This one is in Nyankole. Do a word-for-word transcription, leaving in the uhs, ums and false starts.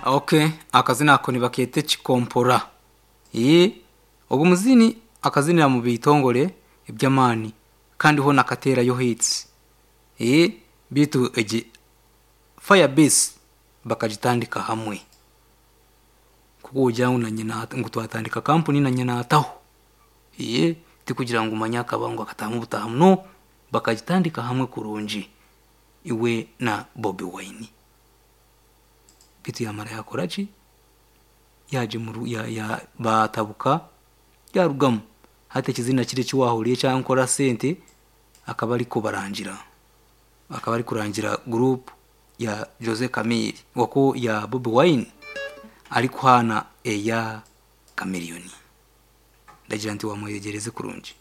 Okay, akazina ako nibakeeta ekikompora. Ee, ogu muzini akazinira mu bitongore eby'amaani kandi hoona akateerayo hits. Ee, beitu egi Firebase bakagitandika hamwe. Nk'oku wogira ngu nanye ngu twatandika kampuni nanye naataho. Ee, tikugira ngu manya akaba ngu akataahamu butaahamu no, bakagitandika hamwe kurungi iwe na Bobi Wine. Beitu yaamara yaakora ki? Yaagimuru ya, ya, baatabuka yarugamu. Hati ekizina kiri eki waahuriire ekya Nkora Sente akaba arikubarangira. Akaba arikurangira group ya Jose Chameleone okwo ya Bobi Wine arikuhaana eya Chameleone. Ndagira nti wamweyegyereze kurungi.